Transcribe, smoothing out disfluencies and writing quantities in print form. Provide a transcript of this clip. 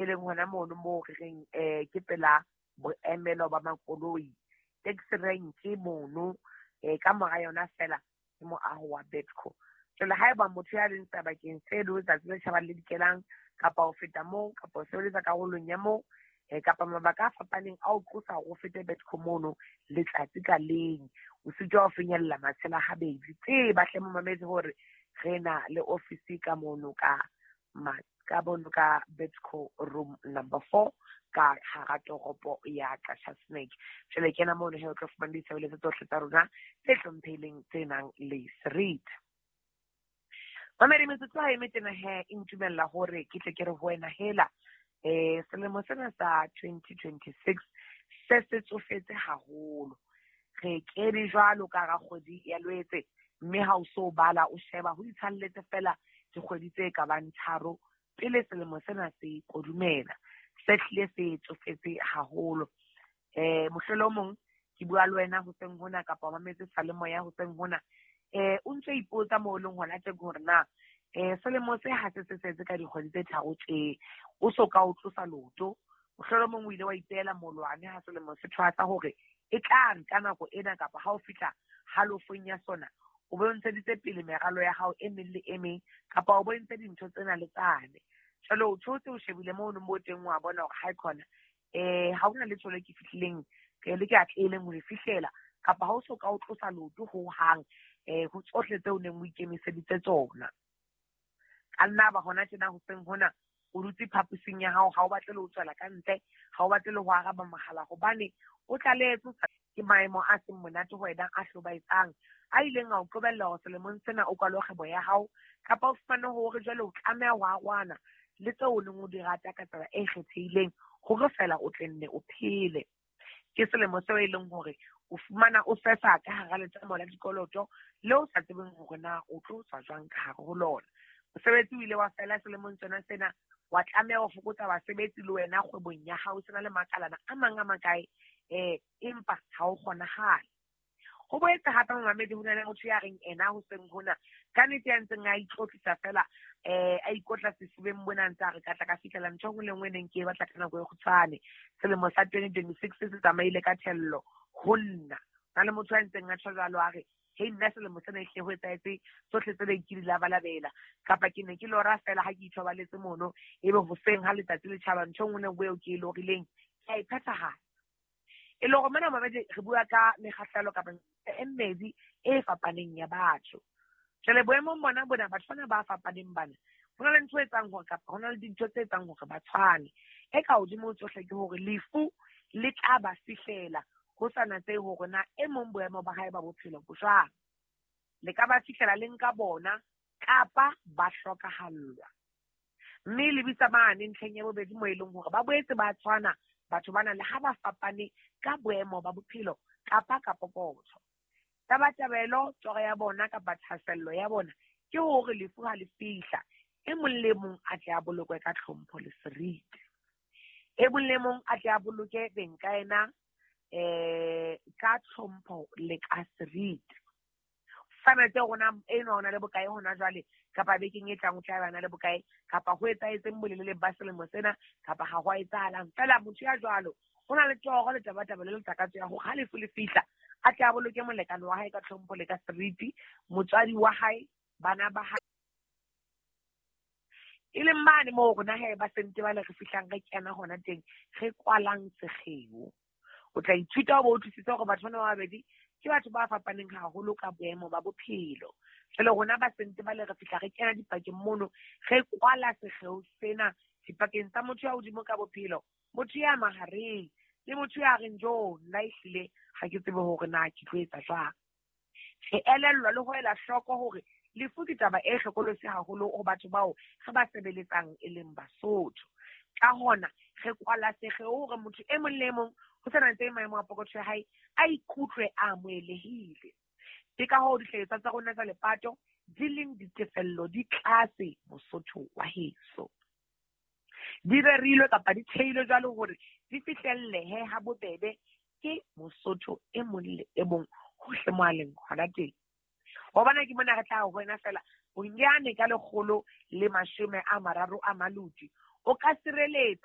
E leng hona mono moo re reng ke pela boemelo ba makoloi, taxi rank mono, ka mora yona fela ke moaho wa Betco. Jwale haeba motho ya leng sebakeng se le letsatsi le tjhabang le dikelang, kapa ho feta moo, kapa ho sebeletsa karolong ya moo, kapa mabaka a fapaneng a o qosa hore o fete Betco mono letsatsi ka leng, o sitwa ho finyella matshela habedi. Tseba hle momamedi hore re na le ofisi ka mono ka mono ka Betco room number 4 ka hara toropo ya Qacha's Nek. Jwale kena mono he o tlo fumana ditshebeletso tsohle tsa rona tse hlomphehileng tse nang le seriti. Mamedi, metsotso ha e metena he e ntumella hore ke tle ke re ho wena hela, selemo sena sa 2026 se se tsofetse haholo. Re kene jwalo ka hara kgwedi ya Lwetse, mme ha o so bala o sheba ho itshalletse fela dikgwedi tse ka bang 3 pele selemo sena se kodumela. Se hlile se tsofetse haholo. Mohlolomong ke bua le wena hoseng hona, kapa o mametse seyalemoya hoseng hona, o ntso ipotsa moo leng hona teng hore na selemo se ha se se setse ka dikgwedi tse 3 tje, o so ka o tlosa loto. Mohlolomong o ile wa ipeela molwane ha selemo se thwasa hore e tla re ka nako ena kapa ha o fihla halofong ya sona, o bo ntsheditse pele meralo ya hao e meng le e meng, kapa o bo entse dintho tsena le tsane. Jwale o thotse o shebile mono mo teng, wa bona hore ha e khona, ha hona letho le ke fihlileng, le ke atlehileng ho le fihlela, kapa ha o so ka o tlosa loto ho hang, ho tsohle tseo neng o ikemiseditse tsona. Ka nna ba hona tjena hoseng hona o dutse phaposing ya hao, ha o batle le ho tswela ka ntle, ha o batle le ho araba mohala, hobane o tlalehetswe ke maemo a seng monate ho wena a hlobaetsang, a ileng a o qobella hore selemong sena o kwale kgwebo ya hao, kapa o fumane hore jwale o tlameha ho arohana le tseo o neng o di rata ka tsela e kgethehileng hore fela o tle nne o phele. Ke selemo seo e leng hore o fumana o sesa ka hara letamo la dikoloto le o sa tsebeng hore na o tlo tswa jwang ka hare ho lona. Mosebetsi o ile wa fela selemong sona sena, wa tlameha ho fokotsa basebetsi le wena kgwebong ya hao, sena le makalana a mang a makae, empa ha o kgonahale. Ho boetse hape momamedi ho na le motho ya reng ena hoseng hona, ka nnete ya ntseng a itlotlisa fela, a ikotla sefubeng mona ntse a re ka tla ka fihlela ntho e nngwe le nngwe e neng ke e batla ka nako e kgutshwane. Selemo sa 2026 se tsamaile ka thello ho nna. Na le motho ya ntseng a tjho jwalo a re, hei nna selemo sena ehlile ho etsahetse tsohle tse neng ke di labalabela, kapa ke ne ke lora fela ha ke ithobaletse mono, ebe hoseng ha letsatsi le tjhaba ntho e nngwe le nngwe eo ke e lorileng ke a e phethahatsa. E le hore mona mamedi re bua ka mekgahlelo kapa e mmedi e fapaneng ya batho. Jwale boemong bona bona batho bana ba fapaneng bana, ho na le ntho e etsang hore kapa ho na le dintho tse etsang hore ba tshwane. E ka hodimo ho tsohle ke hore lefu le tla ba fihlela ho sa natsehe hore na e mong boemo ba hae ba bophelo bo jwang. Le ka ba fihlela le nka bona kapa ba hlokahallwa. Mme lebitsa mane ntlheng ya bobedi moo e leng hore ba boetse ba tshwana batho bana le ha ba fapane ka boemo ba bophelo kapa ka pokotho. Tabatabelo, toro ya bona kapa thahasello ya bona ke hore lefu ha le fihla, e mong le mong a tle a bolokwe ka tlhompho le seriti. E mong le mong a tle a boloke beng ka ena, ka tlhompho le ka seriti. Sanetse rona enwa o na le bokae hona jwale, kapa bekeng e tlang o tla ba na le bokae, kapa ho etsahetseng bolelele ba selemo sena, kapa ha ho a etsahalang. Fela motho ya jwalo o na le toro le tabatabelo le takatso ya hore ha lefu le fihla a tle a boloke molekane wa hae ka tlhompho le ka seriti, motswadi wa hae, bana ba hae. E leng mane moo rona he ba sente ba le re fihlang re kena hona teng, re kwalang sekgeo. O tla ithuta ho bo utlwisise hore batho bana ba babedi ke batho ba fapaneng haholo ka boemo ba bophelo. Jwale rona ba sente ba le re fihla re kena dipakeng mono, re kwala sekgeo sena dipakeng tsa motho ya hodimo ka bophelo, motho ya mahareng, le motho ya reng jo nna ehlile ha ke tsebe hore na ke tlo etsa jwang. Re elellwa le ho ela hloko hore lefu ke taba e hlokolosi haholo ho batho bao re ba sebeletsang e leng Basotho. Ka hona re kwala sekgeo hore motho e mong le e mong ho sa natsehe maemo a pokotho ya hae a ikutlwe a amohelehile. Ke ka hoo dihlahiswa tsa rona tsa lepato di leng ditefello di tlase Mosotho wa heso. Di rerilwe kapa di theilwe jwalo hore di fihlellehe ha bobebe ke Mosotho e mong le e mong hohle mo a leng hona teng. Hobane ke mona re tla ho wena fela bonyane ka 130 a maloti o ka sireletsa